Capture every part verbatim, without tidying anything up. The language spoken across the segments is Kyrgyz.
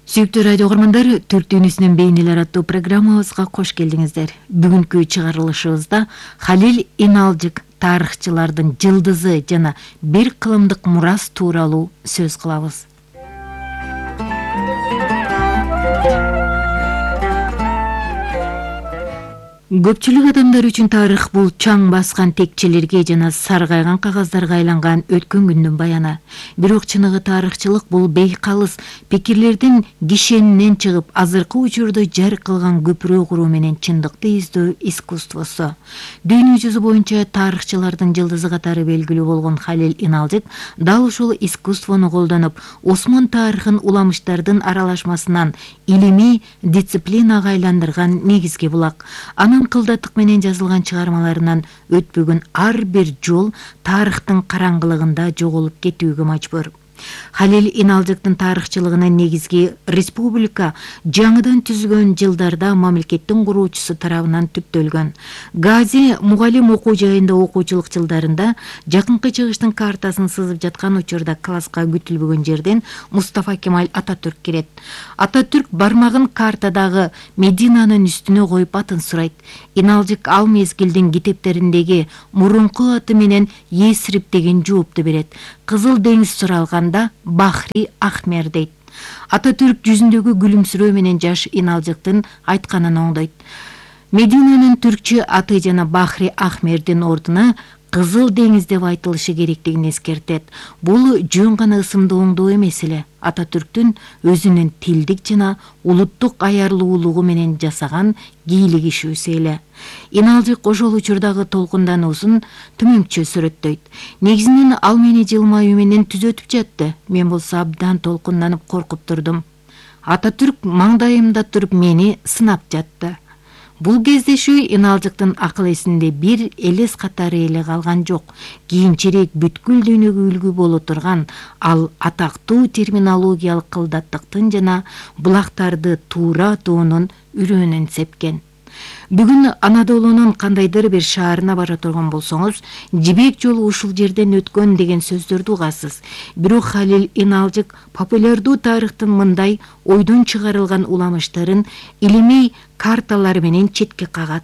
Сүйүктүү радио угармандар, Түрк дүйнөсүнүн бейнелер аттуу программабызга кош келдиңиздер. Бүгүнкү чыгарылышыбызда Халил Иналжык тарыхчылардын жылдызы жана бир кылымдык мурас тууралуу сөз кылабыз. Көпчүлүк адамдар үчүн тарых бул чаң баскан текчелерге жана саргайган кагаздарга айланган өткөн күндүн баяны. Бирок чыныгы тарыхчылык бул бейкалыс пикирлердин кишенинен чыгып, азыркы учурда жар кылган көпүрө куруу менен чындыкты издөө искусствосу. Дүйнө жүзү боюнча тарыхчылардын жылдызы катары белгилүү болгон Халил Иналжык дал ушул искусствону колдонуп, Осмон тарыхын уламыштардын аралашмасынан илимий дисциплинага айландырган негизги булак. Анын кылдаттык менен жазылган чыгармаларынан өтпөгөн ар бир жол тарыхтын караңгылыгында жоголуп кетүүгө мажбур. Халил Иналжыктын тарыхчылыгынын негизги республика жаңыдан түзүлгөн жылдарда мамлекеттин куруучусу тарабынан түптөлгөн. Гази мугалим окуу жайында окуучулук жылдарында жакынкы чыгыштын картасын сызып жаткан учурда класска күтүлбөгөн жерден Мустафа Кемаль Ататүрк кирет. Ататүрк бармагын картадагы Мединанын үстүнө коюп атын сурайт. Иналжык ал мезгилдин китептериндеги мурунку аты менен Есрип деген жоопту берет. Кызыл деңиз суралганда Бахри Ахмер дейт. Ататүрк жүзүндөгү күлүмсүрөө менен жаш Иналжыктын айтканын оңдойт. Мединанын түркчө аты жана Бахри Ахмердин ордуна Кызыл деңиз деп айтылышы керектигин эскертет. Бул жөн гана ысымды оңдоо эмес эле, Ататүрктүн өзүнүн тилдик жана улуттук аярлуулугу менен жасаган кийлик ишүүсү эле. Иналжык ошол учурдагы толкундануусун төмөнчө сүрөттөйт. Негизинен ал мени жылмаюу менен түзөтүп жатты. Мен болсо абдан толкунданып коркуп турдум. Ататүрк маңдайымда туруп мени сынап жатты. Бул кездешүү Иналжыктын акыл эсинде бир элес катары эле калган жок. Кийинчерээк бүткүл дүйнөгө үлгү боло турган ал атактуу терминологиялык кылдаттыктын жана булактарды туура атуунун үрөөнүн сепкен. Бүгүн Анадолунун кандайдыр бир шаарына бара турган болсоңуз, жибек жолу ушул жерден өткөн деген сөздөрдү угасыз. Бирок Халил Иналжык популярдуу тарыхтын мындай ойдон чыгарылган уламыштарын илимий карталар менен четке кагат.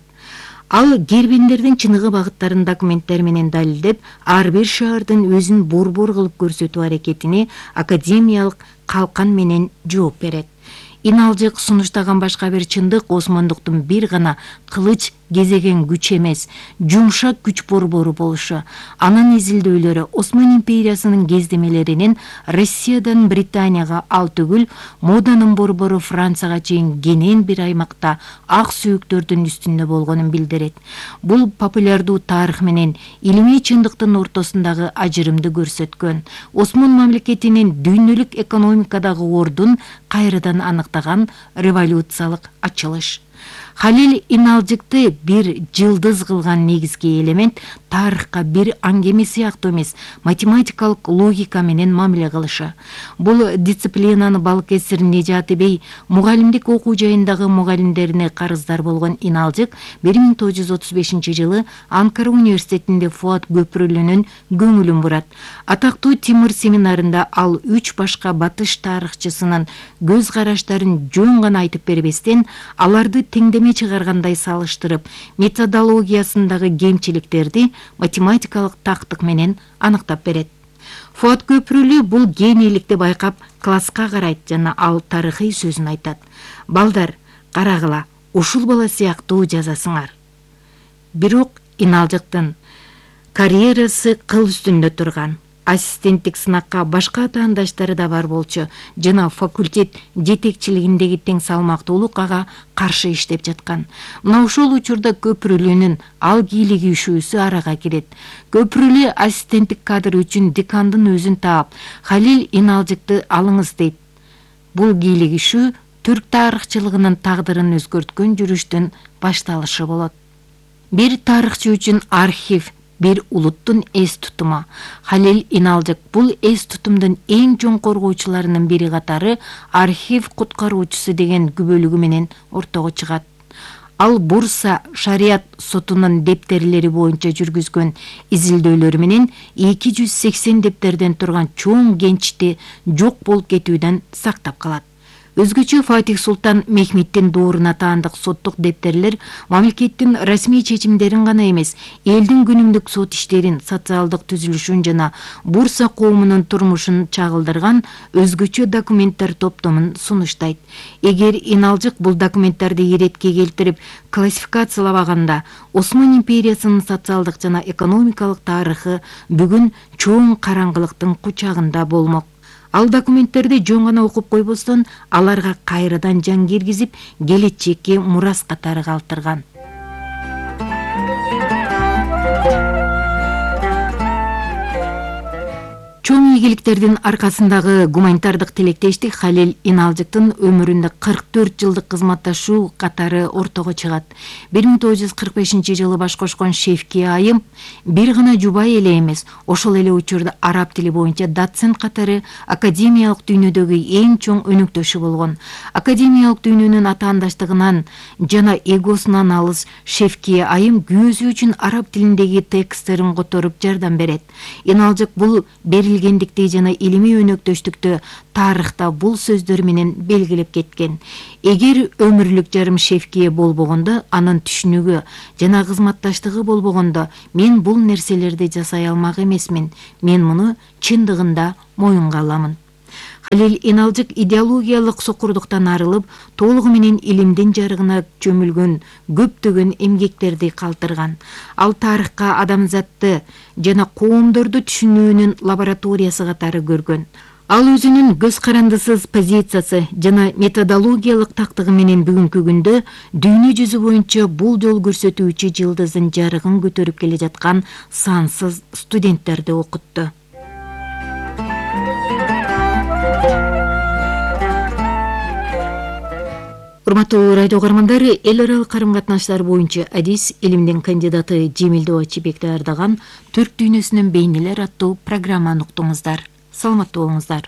Ал кербендердин чыныгы багыттарын документтер менен далилдеп, ар бир шаардын өзүн борбор кылып көрсөтүү аракетине академиялык калкан менен жооп берет. Иналжык сунуштаган башка бир чындык осмондуктун бир гана кылыч кезеген күч эмес, жумшак күч борбору болушу. Анын изилдөөлөрү Осман империясынын кездемелеринин Россиядан Британияга, ал түгүл моданын борбору Францияга чейин кенен бир аймакта ак сүйүктөрдүн үстүндө болгонун билдирет. Бул популярдуу тарых менен илимий чындыктын ортосундагы ажырымды көрсөткөн. Осман мамлекетинин дүйнөлүк экономикадагы ордун кайрадан аныктаган революциялык ачылыш. Халил Иналжыкты бир жылдыз кылган негизги элемент тарыхка бир аңгеме сыяктуу эмес, математикалык логика менен мамиле кылышы. Бул дисциплинаны Балкесир Нежаты бей мугалимдик окуу жайындагы мугалимдерине карыздар болгон Иналжык бир миң тогуз жүз отуз бешинчи жылы Анкара университетинде Фуат Көпүрөлүнүн көңүлүн бурат. Атактуу Тимир семинарында ал үч башка батыш тарыхчысынын көз караштарын жөн гана айтып бербестен, аларды теңдеме чыгаргандай салыштырып, методологиясындагы кемчиликтерди математикалык тактык менен аныктап берет. Фуат Көпүрөлү бул генийликти байкап класска карайт жана ал тарыхый сөзүн айтат. Балдар, карагыла, ушул бала сыяктуу жазасыңар. Бирок Иналжыктын карьерасы кыл үстүндө турган. Ассистенттик сынакка башка атаандаштары да бар болчу жана факультет жетекчилигиндеги тең салмактуулук ага каршы иштеп жаткан. Мына ошол учурда Көпүрөлүнүн ал кийлиги ишүүсү арага кирет. Көпүрөлү ассистенттик кадр үчүн декандын өзүн таап, Халил Иналжыкты алыңыз дейт. Бул кийлик ишүү түрк тарыхчылыгынын тагдырын өзгөрткөн жүрүштүн башталышы болот. Бир тарыхчы үчүн архив бир улуттун эс тутуму. Халил Иналжык бул эс тутумдун эң чоң коргоочуларынын бири катары архив куткаруучусу деген күбөлүгү менен ортого чыгат. Ал Бурса шарият сотунун дептерлери боюнча жүргүзгөн изилдөөлөрү менен эки жүз сексен дептерден турган чоң кенчти жок болуп кетүүдөн сактап калат. Өзгөчө Фатих Султан Мехметтин дооруна таандык соттук дептерлер мамлекеттин расмий чечимдерин гана эмес, элдин күнүмдүк сот иштерин, социалдык түзүлүшүн жана Бурса коомунун турмушун чагылдырган өзгөчө документтер топтомун сунуштайт. Эгер Иналжык бул документтерди иретке келтирип классификациялабаганда, Осман империясынын социалдык жана экономикалык тарыхы бүгүн чоң караңгылыктын кучагында болмок. Ал документтерди жөн гана окуп койбостон, аларга кайрадан жан киргизип, келечекке мурас катары калтырган. Чоң ийгиликтердин аркасындагы гуманитардык тилектештик Халил Иналжыктын өмүрүндө кырк төрт жылдык кызматташуу катары ортого чыгат. бир миң тогуз жүз кырк бешинчи жылы баш кошкон Шевки айым бир гана жубай эле эмес, ошол эле учурда араб тили боюнча доцент катары академиялык дүйнөдөгү эң чоң өнөктөшү болгон. Академиялык дүйнөнүн атаандаштыгынан жана эгосунан алыс Шевки айым күйөөсү үчүн араб тилиндеги тексттерин которуп жардам берет. Иналжык бул берилгендикти жана илимий өнөктөштүктү тарыхта бул сөздөр менен белгилеп кеткен. Эгер өмүрлүк жарым Шевкие болбогондо, анын түшүнүгү жана кызматташтыгы болбогондо, мен бул нерселерди жасай алмак эмесмин. Мен муну чындыгында моюнга аламын. Халил Иналжык идеологиялык сокурдуктан арылып, толугу менен илимдин жарыгына чөмүлгөн көптөгөн эмгектерди калтырган. Ал тарыхка адамзатты жана коомдорду түшүнүүнүн лабораториясы катары көргөн. Ал өзүнүн көз карандысыз позициясы жана методологиялык тактыгы менен бүгүнкү күндө дүйнө жүзү боюнча бул жол көрсөтүүчү жылдыздын жарыгын көтөрүп келе жаткан сансыз студенттерди окутту. Урматтуу радио угармандар, эл аралык карым-катнаштар боюнча адис илимдин кандидаты Жемилдөө Ачыбек даярдаган Түрк дүйнөсүнүн бейнелер аттуу программаны уктуңуздар. Саламаттуу болуңуздар.